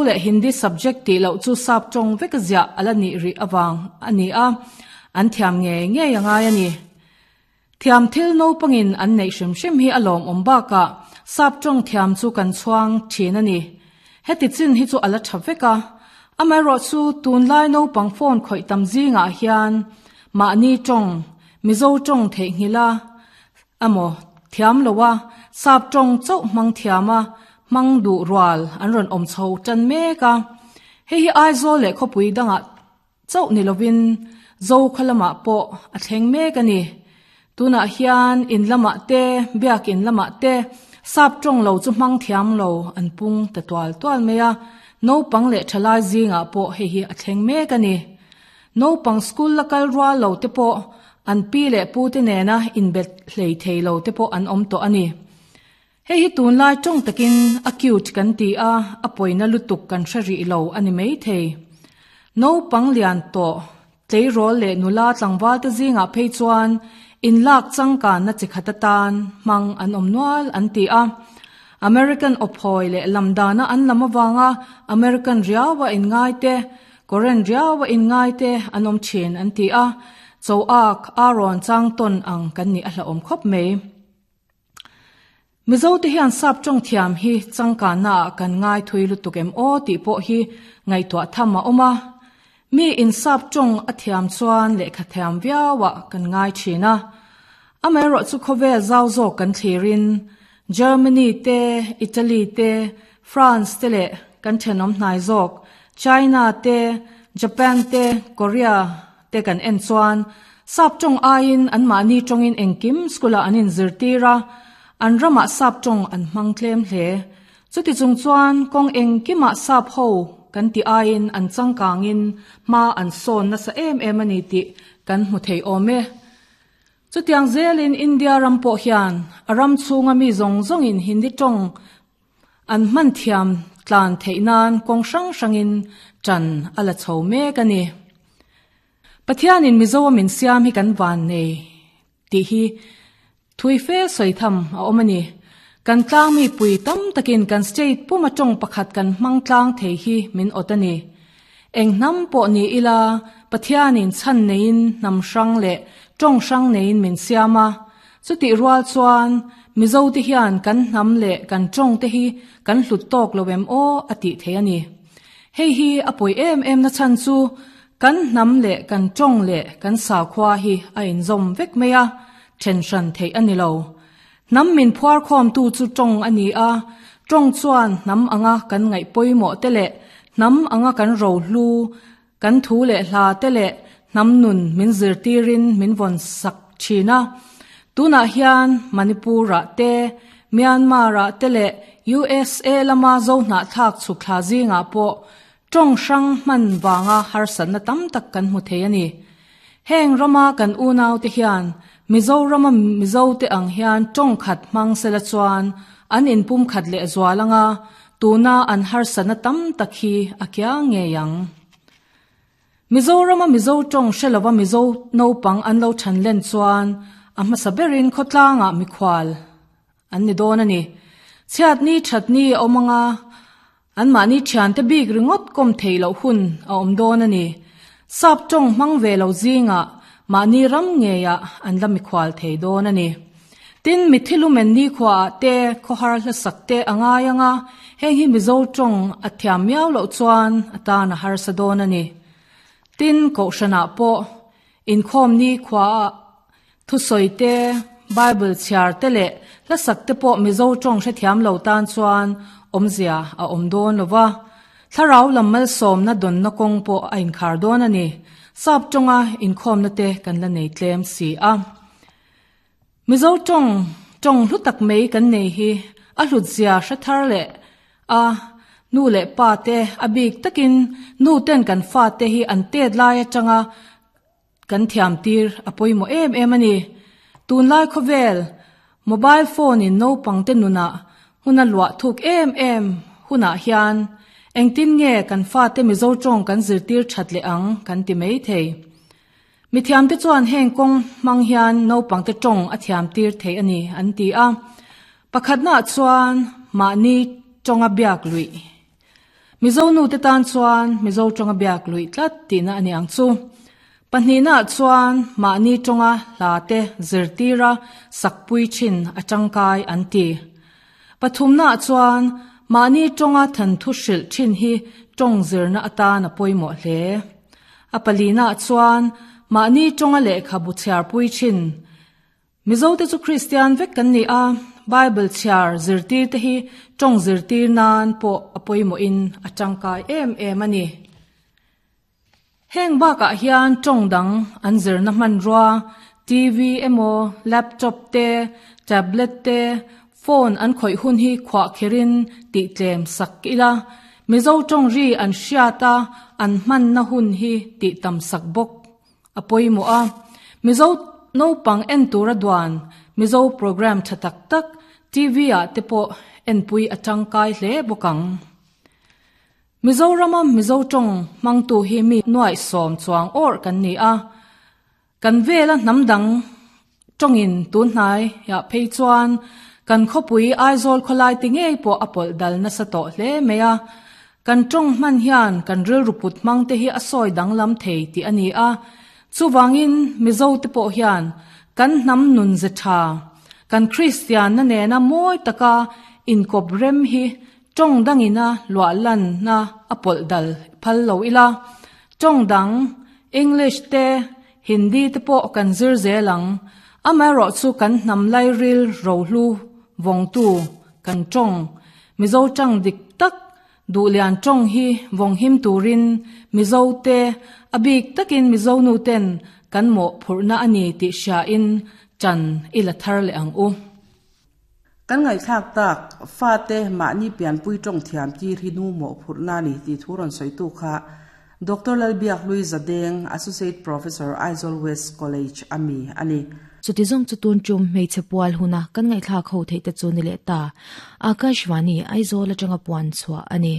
leh Hindi subject tih loh chu sap tawng vek ziah a la nih rih avang a ni a, an thiam ngei ngei a ngai a ni. Thiam thil naupangin an neih hrim hrim hi a lawmawm bakah sap tawng thiam chu kan chhuang thin a ni. Heti chin hi chu a la tha vek a, amaherawhchu tunlai naupang phone khawih tam zingah hian mahni tawng, Mizo tawng theihnghilh a, Amaw, thiam lo a, sap tawng chauh hmang thiam a, hmang duh rual an rawn awm chho tan mek a. Hei hi Aizawl leh khawpui dangah chauh ni lovin Zokhaw lamah pawh a thleng mek a ni. Tunah hian in lamah te, biakin lamah te sap tawng lo chu hmang thiam lo an pung ta tual tual mai a, naupang leh thalai zingah pawh hei hi a thleng mek a ni. Naupang school la kal rual lo te pawh an pi leh pu te nena inbet hlei thei lo te pawh an awm tawh a ni. Hei hi tunlai tawng takin acute kan ti a, a pawina lutuk kan hre rih lo a ni mai thei. Naupang lian tawh, tleirawl leh nula tlangval te zingah phei chuan inlak changkanna chi khat atan hmang an awm nual an ti a. American awphawi leh lamdana an lam avanga American riaua inngai te, Korean riau a inngai te an awm thin an ti a, cho ak a rawn chang tawn ang kan nih a hlauhawm khawp mai. Mizo te hian sap tawng thiam hi changkanna ah kan ngai thui lutuk em aw tih pawh hi ngaihtuah tham a awm a. Mi in sap tawng a thiam chuan lehkha thiam viau ah kan ngai thin a. Amaherawh chu khawvel zau zawk kan thlir in Germany te, Italy te, France te leh kan thenawm hnai zawk China te, Japan te, Korea te kan en chuan sap tawng aiin anmahni tawngin engkim school ah an inzirtir a, an ramah sap tawng an hmang tlem hle. Chuti chung chuan kawng engkimah sap ho kan tih aiin an changkangin hma an sawn nasa em em a ni tih kan hmu thei awm e. Chutiang zelin India ram pawh hian a ram chhunga mi zawng zawngin Hindi tawng An hman thiam tlan theih nan kawng hrang hrangin ṭan a la chho mek a ni. Pathianin Mizo a min siam hi kan van nei tih hi thui fe sawi tham a awm a ni. Kan tlang mi pui tam takin kan state puma tawng pakhat kan hmang tlang thei hi min awt a ni. Eng hnam pawh ni ila Pathianin chhan neiin hnam hrang leh tawng hrang neiin min siam a, chutih rual chuan Mizote hian kan hnam leh kan tawngte hi kan hlut tawk lo em aw a tih thei a ni. Hei hi a pawi em em na chhan chu kan hnam leh kan tawng leh kan sakhua hi a inzawm vek mai a, then hran theih a ni lo. Hnam min phuarkhawmtu chu tawng a ni a, tawng chuan hnam anga kan ngaih pawimawh te leh hnam anga kan rohlu, kan thu leh hla te leh hnam nun min zirtirin min vawn sak thin a. Tunah hian Manipur-ah te, Myanmar-ah te leh USA lama Zohnahthlak chhukthla zingah pawh tawng hrang hman vanga harsatna tam tak kan hmu thei a ni. Heng rama kan unaute hian Mizorama Mizote ang hian tawng khat hmang sela chuan an inpum khat leh zual anga tuna an harsatna tam tak hi a kiang ngei ang. Mizorama Mizo tawng hre lova Mizo naupang an lo than len chuan a hmasa berin khawtlangah mikhual an ni dawn a ni. Chhiatni thatni a awm anga Anmahni thiante bik ringawt kawm theih loh hun a awm dawn a ni. Sap tawng hmang ve lo zingah mahni ram ngeiah an la mikhual thei dawn a ni. Tin, mitthi lumen nikhuaah te khawhar hlasak te a ngai ang a, heng hi Mizo tawng a thiam miau loh chuan a tan a harsa dawn a ni. Tin, Kohhranah pawh inkhawm nikhuaah Thusawi te, Bible chhiar te leh hlasak te pawh Mizo tawng hrethiam lo tan chuan awmzia a awm dawn lo va. Thlarau lam malsawmna dawnna kawng pawh a inkhar dawn a ni. Sap tawnga inkhawmna te kan la nei tlem si a. Mizo tawng, tawng hlu tak mai kan nei hi a hlutzia hre thar leh a, nu leh pa te a bik takin nu ten kan fate hi an tet lai atanga Kan thiam tir a pawimawh em em a ni. Tunlai khawvel, mobile phone in naupang te nunah hmun a luah thuk em em hunah hian engtin nge kan fate Mizo tawng kan zirtir that leh ang kan ti mai thei. Mithiam te chuan heng kawng hmang hian naupang te tawng a thiam tir thei a ni an ti a. Pakhatnaah chuan mahni tawnga biak luih. Mizo nu te tan chuan Mizo tawnga biak luih tlat tihna a ni ang chu. Pahnihnaah chuan mahni tawnga hla te zirtira sakpui thin a tangkai an ti. Pathumnaah chuan mahni tawnga thanthu hrilh thin hi tawng zirna atan a pawimawh hle. A palinaah chuan mahni tawnga lehkhabu chhiarpui thin. Mizote chu Kristian vek kan ni a, Bible chhiar zirtir te hi tawng zirtir nan pawh a pawimawhin a tangkai em em a ni. Heng bakah hian tawng dang an zirna hmanrua, TV emaw, laptop te, tablet te, phone an khawih hun hi khuah kherin tihtlem sak ila, Mizo tawng ri an hriat a, an hmanna hun hi tihtam sak bawk a pawimawh a. Mizo naupang en tura duan Mizo programme tha tak tak TV ah te pawh enpui a tangkai hle bawk ang. Mizorama Mizo tawng hmangtu hi mi nuaihsawm chuang awrh kan ni a, kan vela hnam dang tawngin tunhnai ah phei chuan kan khawpui Aizawl khawlai ti ngei pawh a pawlh dal nasa tawh hle mai a. Kan tawng hman hian kan rilru put hmang te hi a sawi danglam thei tih a ni a, chuvangin Mizo te pawh hian kan hnam nun ze tha, kan Kristianna nena mawi taka inkawp rem hi Tawng dangina luah lanna a pawlh dal phal lo ila, tawng dang, English te, Hindi te pawh kan zir zel ang. Amaherawh chu kan hnam lairil rohlu vawngtu kan tawng, Mizo tang dik tak, Duhlian tawng hi vawng him turin Mizo te, a bik takin Mizo nu ten kan mawhphurhna a ni tih hriain chan i la thar leh ang u. Kan ngaihthlak tak, fate mahni pianpui tawng thiam tir hi nu mawhphurhna a ni tih thu rawn sawitu kha Doctor Lalbiakhlui Zadeng, Associate Professor, Aizawl West College a mi a ni. Chuti zawng chu tun tum hmeichhe pual huna kan ngaihthlak ho theih te chu ni leh ta. Akashvani, Aizawl atanga puan chhuah a ni.